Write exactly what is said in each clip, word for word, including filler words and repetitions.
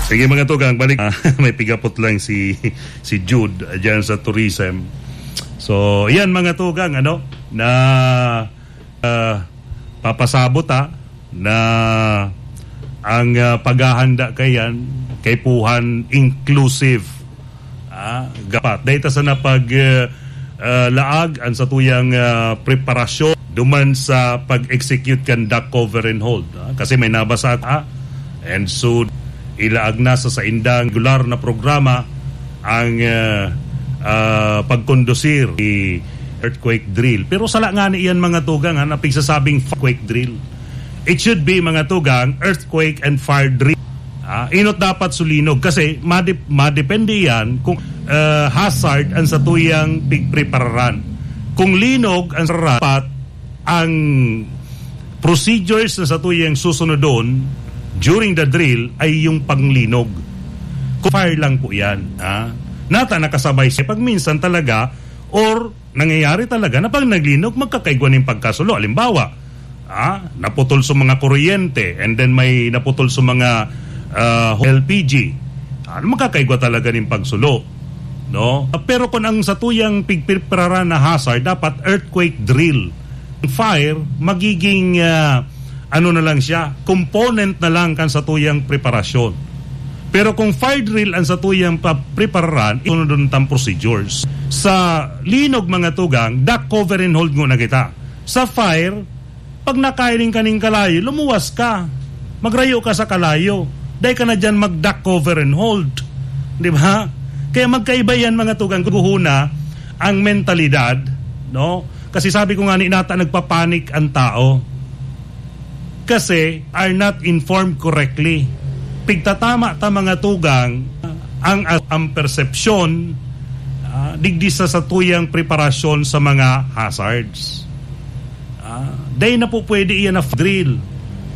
Sige, mga tugang, balik. Ah, may pigapot lang si, si Jude, ah, dyan sa tourism. So, yan, mga tugang, ano, na, ah, papasabot, ah, na ang, ah, paghahanda kayan, kaipuhan inclusive. Ah, dapat. Dahil ta sana pag, ah, ah, laag ang satuyang, ah, preparasyon duman sa pag-execute kan dock cover and hold, ah. Kasi may nabasa ako, ah. And so, ilaag na sa saindang regular na programa ang, ah, ah, pagkondusir ni earthquake drill. Pero sala nga ni iyan, mga tugang, ha, na pigsasabing earthquake drill. It should be, mga tugang, earthquake and fire drill. Ah, inot dapat sulinog kasi madep-, madepende yan kung, ah, hazard ang satuyang pigprepararan. Kung linog ang sarapat, ang procedures na satuyang susunodon during the drill ay yung panglinog. Kung fire lang po yan, ha? Nata nakasabay siya pag minsan talaga, or nangyayari talaga na pag naglinog, magkakaigwa nin pagkasulo. Halimbawa, ah, naputol sa mga kuryente, and then may naputol sa mga, ah, L P G. Ah, magkakaigwa talaga nin pagsulo, no? Pero kung ang satuyang pigprepararan na hazard, dapat earthquake drill. Fire, magiging, ah, ano na lang siya, component na lang kan satuyang preparasyon. Pero kung fire drill ang satuyang pa-, prepararan, isunod ang procedures. Sa linog, mga tugang, dock cover and hold nguna kita. Sa fire, pag nakahiling ka ning kalayo, lumuwas ka. Magrayo ka sa kalayo. Dai ka na diyan mag-dock cover and hold. Di ba? Kaya magkaiba yan, mga tugang, guhuna ang mentalidad, no? Kasi sabi ko nga ni nata, nagpapanik ang tao. Kasi are not informed correctly. Pigtatama ta, mga tugang, ang, ang persepsyon, ah, digdi sa satuyang preparasyon sa mga hazards. Ah, dai na po pwede iyan na drill.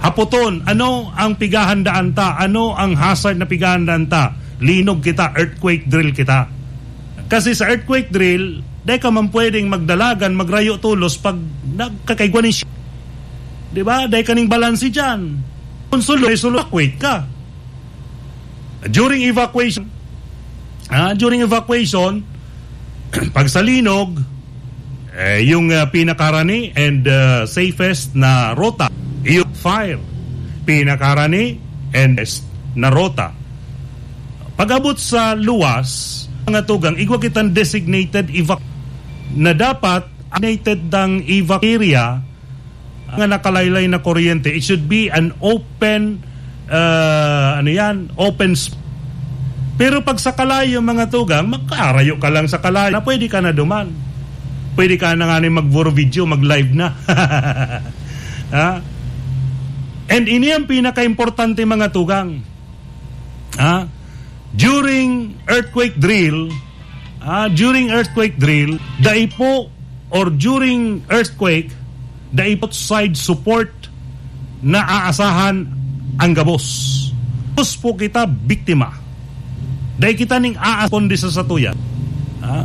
Hapoton, ano ang pighahandaan ta? Ano ang hazard na pighahandaan ta? Linog kita, earthquake drill kita. Kasi sa earthquake drill, dai ka man pwedeng magdalagan, magrayo tolos pag nagkakaigwa nin shi-, di ba? Dai ka ning balanse dyan. Kung sulo, may sulo, evacuate ka. During evacuation, ah, during evacuation, pag sa linog, eh, yung, ah, pinakarani and, ah, safest na rota, yung fire. Pinakarani and best na rota. Pag-abot sa luwas, mga tugang, igwa kitang designated evac-, na dapat designated ng evac area nga nakalaylay na kuryente. It should be an open, ah, ano yan, open sp-, pero pag sa kalayo, mga tugang, magkarayo ka lang sa kalayo na pwede ka na duman. Pwede ka na nga ni mag-video, mag-live na. Ha? And ini ang pinaka-importante, mga tugang. Ha? During earthquake drill, ah, during earthquake drill, dai po, or during earthquake, dai po side support na aasahan ang gabos. Gabos po kita biktima. Dai kita ning aasponde sa satuya. Ha?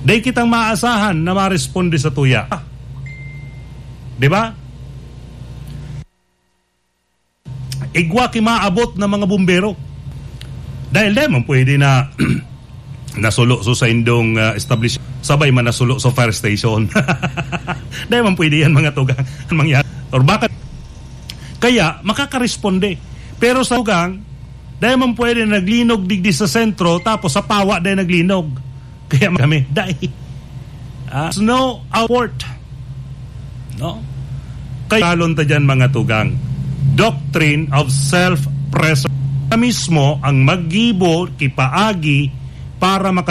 Dai kitang maasahan na maresponde sa tuya. Di ba? Igwa ki maabot na mga bumbero. Dahil dai man pwede na nasulo so sa indong, ah, establishment, sabay man nasulo sa fire station. Dai man pwede yan, mga tugang, ang mangyari. Or baka, kaya makakaresponde. Pero sa tugang, dai man pwede na naglinog digdi sa sentro, tapos sa pawa dai naglinog. Kaya kami, dai. Ah, snow award. No? Kaya kalon ta dyan, mga tugang. Doctrine of self-preservation. Ka mismo ang maggibo, kipaagi para maka-